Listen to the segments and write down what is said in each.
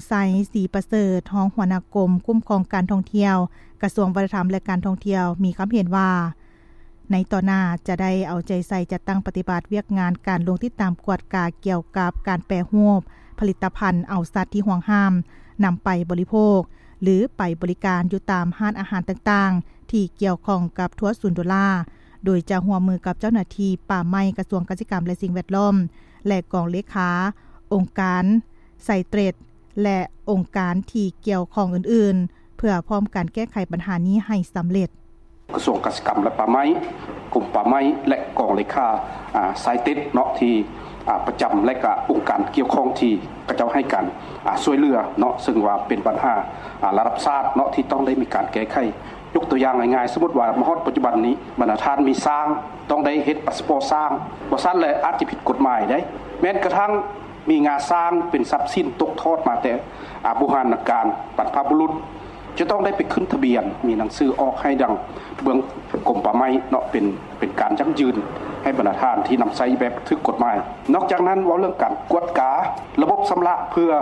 ໄຊ ສີປະເສີດ ຮອງຫົວໜ້າກົມຄຸ້ມຄອງການທ່ອງທ່ຽວ ກະຊວງວັດທະນະທຳ ແລະ ການທ່ອງທ່ຽວ ມີຄຳເຫັນວ່າ ໃນຕໍ່ໜ້າຈະໄດ້ເອົາໃຈໃສ່ຈັດຕັ້ງປະຕິບັດວຽກງານການລົງຕິດຕາມກວດກາກ່ຽວກັບການແປຮູບຜະລິດຕະພັນເອົາສັດທີ່ຫວງຫ້າມນຳໄປບໍລິໂພກ ຫຼື ໄປບໍລິການຢູ່ຕາມຮ້ານອາຫານຕ່າງໆ ທີ່ກ່ຽວຂ້ອງກັບທົວສູນໂດລາ ໂດຍຈະຮ່ວມມືກັບເຈົ້າໜ້າທີ່ປ່າໄມ້ ກະຊວງກະສິກຳ ແລະ ສິ່ງແວດລ້ອມ ແລະ ກອງເລຂາ ອົງການ ໄຊເຕຣດ ແລະ ອົງການທີ່ກ່ຽວຂ້ອງອື່ນໆ ເພື່ອພ້ອມກັນແກ້ໄຂບັນຫານີ້ໃຫ້ສຳເລັດ. ກະຊວງກະສິກຳ ແລະ ປ່າໄມ້, ກົມປ່າໄມ້ ແລະ ກອງເລຂາ ອາ ໄຊເຕຣດເນາະ ທີ່ ອາ ປະຈຳ ແລະ ກະອົງການກ່ຽວຂ້ອງທີ່ເຂົາເຈົ້າໃຫ້ການ ອາ ຊ່ວຍເຫຼືອເນາະ ເຊິ່ງວ່າເປັນບັນຫາ ອາ ລະດັບຊາດເນາະ ທີ່ຕ້ອງໄດ້ມີການແກ້ໄຂ. ຍົກຕົວຢ່າງງ່າຍໆ ສົມມຸດວ່າມາຮອດປັດຈຸບັນນີ້ ບັນດາທ່ານມີຊ້າງ ຕ້ອງໄດ້ເຮັດພາສປອດຊ້າງ, ບໍ່ຊັ້ນແລ້ວອາດຈະຜິດກົດໝາຍໄດ໋. ແມ່ນກະທັ່ງມີງາຊ້າງເປັນຊັບສິນຕົກທອດມາແຕ່ ອາ ບູຮານນະການ ບັນພະບຸລຸດ ຈະຕ້ອງໄດ້ໄປຂຶ້ນທະບຽນ ມີໜັງສືອອກໃຫ້ດັ່ງເບື້ອງກົມປ່າໄມ້ເນາະ ເປັນ ເປັນການຢັ້ງຢືນໃຫ້ບັນດາທ່ານທີ່ນຳໃຊ້ແບບຖືກກົດໝາຍ. ນອກຈາກນັ້ນ ເວົ້າເລື່ອງການກວດກາລະບົບຊຳລະ ເພື່ອ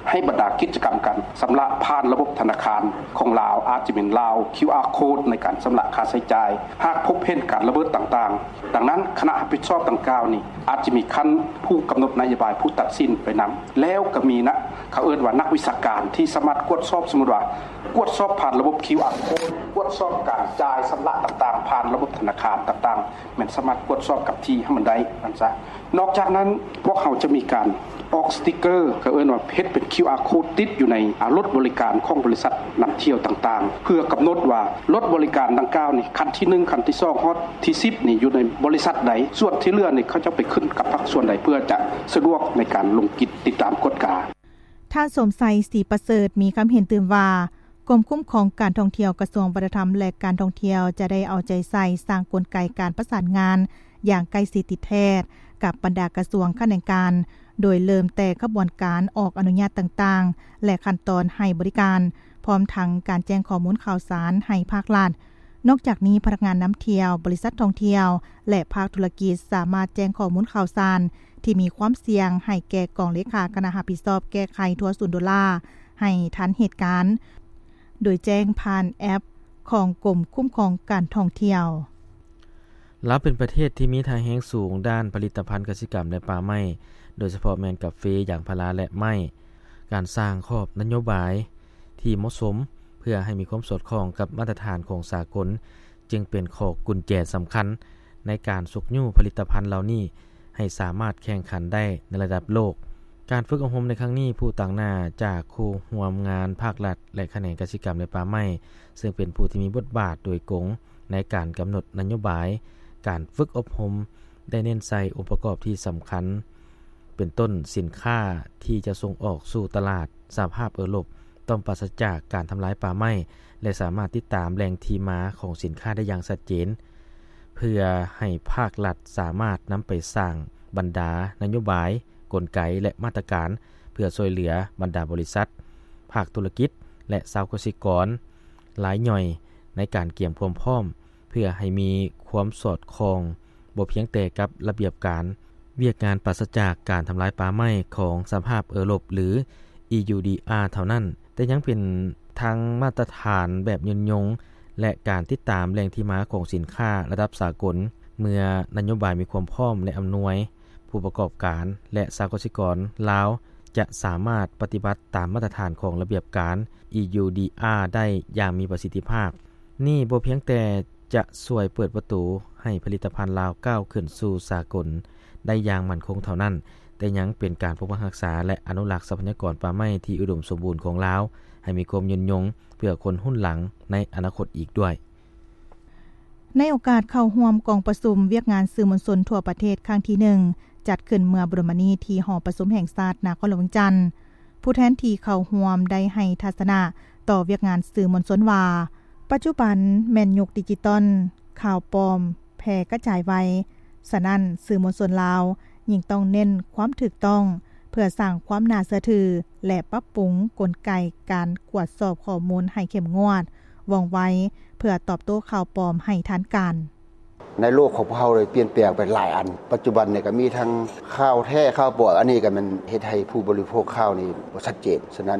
ໃຫ້ບັນດາກິດຈະກຳການຊຳລະຜ່ານລະບົບທະນາຄານຂອງລາວ ອາດຈະເປັນລາວ ຄິວອາ ໂຄດ ໃນການຊຳລະຄ່າໃຊ້ຈ່າຍ ຫາກພົບເຫັນການລະເມີດຕ່າງໆ. ດັ່ງນັ້ນ ຄະນະຮັບຜິດຊອບດັ່ງກ່າວນີ້ ອາດຈະມີຂັ້ນຜູ້ກຳນົດນະໂຍບາຍ ຜູ້ຕັດສິນໄປນຳ ແລ້ວກໍມີນະ ເຂົາເອີ້ນວ່ານັກວິຊາການທີ່ສາມາດກວດສອບ ສົມມຸດວ່າກວດສອບຜ່ານລະບົບ ຄິວອາ ໂຄດ ກວດສອບການຈ່າຍຊຳລະຕ່າງໆ ຜ່ານລະບົບທະນາຄານຕ່າງໆ ແມ່ນສາມາດກວດສອບກັບທີ່ໃຫ້ມັນໄດ້ນັ້ນຊະ. ນອກຈາກນັ້ນ ພວກເຮົາຈະມີການອອກສະຕິກເກີ ເຂົາເອີ້ນວ່າເຮັດເປັນ ຄິວອາ ໂຄດ ຕິດຢູ່ໃນ ອາ ລົດບໍລິການຂອງບໍລິສັດນຳທ່ຽວຕ່າງໆ ເພື່ອກຳນົດວ່າລົດບໍລິການດັ່ງກ່າວນີ້ ຂັ້ນທີໜຶ່ງ ຂັ້ນທີສອງ ຮອດທີສິບນີ້ຢູ່ໃນບໍລິສັດໃດ, ສ່ວນທີ່ເຫຼືອນີ້ເຂົາເຈົ້າໄປຂຶ້ນກັບພາກສ່ວນໃດ ເພື່ອຈະສະດວກໃນການລົງກິດຕິດຕາມກວດກາ. ທ່ານ ສົມໄຊ ສີປະເສີດ ມີຄຳເຫັນຕື່ມວ່າ ກົມຄຸ້ມຄອງການທ່ອງທ່ຽວ ກະຊວງວັດທະນະທຳ ແລະ ການທ່ອງທ່ຽວ ຈະໄດ້ເອົາໃຈໃສ່ສ້າງກົນໄກການປະສານງານຢ່າງໃກ້ຊິດຕິດແທດກັບບັນດາກະຊວງຂະແໜງການ ໂດຍເລີ່ມແຕ່ຂະບວນການອອກອະນຸຍາດຕ່າງໆ ແລະ ຂັ້ນຕອນໃຫ້ບໍລິການ ພ້ອມທັງການແຈ້ງຂໍ້ມູນຂ່າວສານໃຫ້ພາກລັດ. ນອກຈາກນີ້ ພະນັກງານນຳທ່ຽວ, ບໍລິສັດທ່ອງທ່ຽວ ແລະ ພາກທຸລະກິດ ສາມາດແຈ້ງຂໍ້ມູນຂ່າວສານທີ່ມີຄວາມສ່ຽງໃຫ້ແກ່ກອງເລຂາຄະນະຮັບຜິດຊອບແກ້ໄຂທົວສູນໂດລາໃຫ້ທັນເຫດການ ໂດຍແຈ້ງຜ່ານແອັບຂອງກົມຄຸ້ມຄອງການທ່ອງທ່ຽວ. ລາວເປັນປະເທດທີ່ມີທ່າແຮງສູງດ້ານຜະລິດຕະພັນກະສິກຳ ແລະ ປ່າໄມ້, ໂດຍສະເພາະແມ່ນກາເຟ, ຢາງພາລາ ແລະ ໄມ້. ການສ້າງຂອບນະໂຍບາຍທີ່ເໝາະສົມເພື່ອໃຫ້ມີຄວາມສອດຄ່ອງກັບມາດຕະຖານຂອງສາກົນ ຈຶ່ງເປັນຂໍ້ກຸນແຈສຳຄັນໃນການຊຸກຍູ້ຜະລິດຕະພັນເຫຼົ່ານີ້ໃຫ້ສາມາດແຂ່ງຂັນໄດ້ໃນລະດັບໂລກ. ການຝຶກອົບຮົມໃນຄັ້ງນີ້ ຜູ້ຕາງໜ້າຈາກຄູ່ຮ່ວມງານພາກລັດ ແລະ ຂະແໜງກະສິກຳ ແລະ ປ່າໄມ້, ເຊິ່ງເປັນຜູ້ທີ່ມີບົດບາດໂດຍກົງໃນການກຳນົດນະໂຍບາຍ. ການຝຶກອົບຮົມໄດ້ເນັ້ນໃສ່ອົງປະກອບທີ່ສຳຄັນ ເປັນຕົ້ນສິນຄ້າທີ່ຈະສົ່ງອອກສູ່ຕະຫຼາດສະຫະພາບເອີຣົບ ຕ້ອງປາສະຈາກການທຳລາຍປ່າໄມ້ ແລະ ສາມາດຕິດຕາມແຫຼ່ງທີ່ມາຂອງສິນຄ້າໄດ້ຢ່າງຊັດເຈນ, ເພື່ອໃຫ້ພາກລັດສາມາດນຳໄປສ້າງບັນດານະໂຍບາຍ, ກົນໄກ ແລະ ມາດຕະການ ເພື່ອຊ່ວຍເຫຼືອບັນດາບໍລິສັດ, ພາກທຸລະກິດ ແລະ ຊາວກະສິກອນລາຍຍ່ອຍ ໃນການກຽມຄວາມພ້ອມ ເພື່ອໃຫ້ມີຄວາມສອດຄ່ອງ ບໍ່ພຽງແຕ່ກັບລະບຽບການວຽກງານປາສະຈາກການທຳລາຍປ່າໄມ້ຂອງສະຫະພາບເອີຣົບ ຫຼື ອີ ຢູ ດີ ອາ ເທົ່ານັ້ນ, ແຕ່ຍັງເປັນທັງມາດຕະຖານແບບຍືນຍົງ ແລະ ການຕິດຕາມແຫຼ່ງທີ່ມາຂອງສິນຄ້າລະດັບສາກົນ. ເມື່ອນະໂຍບາຍມີຄວາມພ້ອມ ແລະ ອຳນວຍ, ຜູ້ປະກອບການ ແລະ ຊາວກະສິກອນລາວຈະສາມາດປະຕິບັດຕາມມາດຕະຖານຂອງລະບຽບການ ອີ ຢູ ດີ ອາ ໄດ້ຢ່າງມີປະສິດທິພາບ. ນີ້ບໍ່ພຽງແຕ່ຈະຊ່ວຍເປີດປະຕູໃຫ້ຜະລິດຕະພັນລາວກ້າວຂຶ້ນສູ່ສາກົນໄດ້ຢ່າງໝັ້ນຄົງເທົ່ານັ້ນ, ແຕ່ຍັງເປັນການປົກປັກຮັກສາ ແລະ ອະນຸລັກຊັບພະຍາກອນປ່າໄມ້ທີ່ອຸດົມສົມບູນຂອງລາວ ໃຫ້ມີຄວາມຍືນຍົງເພື່ອຄົນຮຸ່ນຫຼັງໃນອະນາຄົດອີກດ້ວຍ. ໃນໂອກາດເຂົ້າຮ່ວມກອງປະຊຸມວຽກງານສື່ມວນຊົນທົ່ວປະເທດຄັ້ງທີໜຶ່ງ ຈັດຂຶ້ນເມື່ອບໍ່ດົນມານີ້ທີ່ຫໍປະຊຸມແຫ່ງຊາດນະຄອນຫຼວງວຽງຈັນ, ຜູ້ແທນທີ່ເຂົ້າຮ່ວມໄດ້ໃຫ້ທັດສະນະຕໍ່ວຽກງານສື່ມວນຊົນວ່າ, ປັດຈຸບັນແມ່ນຍຸກດິຈິຕອນ, ຂ່າວປອມແຜ່ກະຈາຍໄວ, ສະນັ້ນ ສື່ມວນຊົນລາວຍິ່ງຕ້ອງເນັ້ນຄວາມຖືກຕ້ອງ ເພື່ອສ້າງຄວາມໜ້າເຊື່ອຖື ແລະ ປັບປຸງກົນໄກການກວດສອບຂໍ້ມູນໃຫ້ເຂັ້ມງວດ, ວ່ອງໄວ ເພື່ອຕອບໂຕ້ຂ່າວປອມໃຫ້ທັນການ. ໃນໂລກຂອງພວກເຮົາໄດ້ປ່ຽນແປງໄປຫຼາຍອັນ. ປັດຈຸບັນນີ້ກໍມີທັງຂ່າວແທ້, ຂ່າວປອມ, ອັນນີ້ກໍແມ່ນເຮັດໃຫ້ຜູ້ບໍລິໂພກຂ່າວນີ້ບໍ່ຊັດເຈນ. ສະນັ້ນ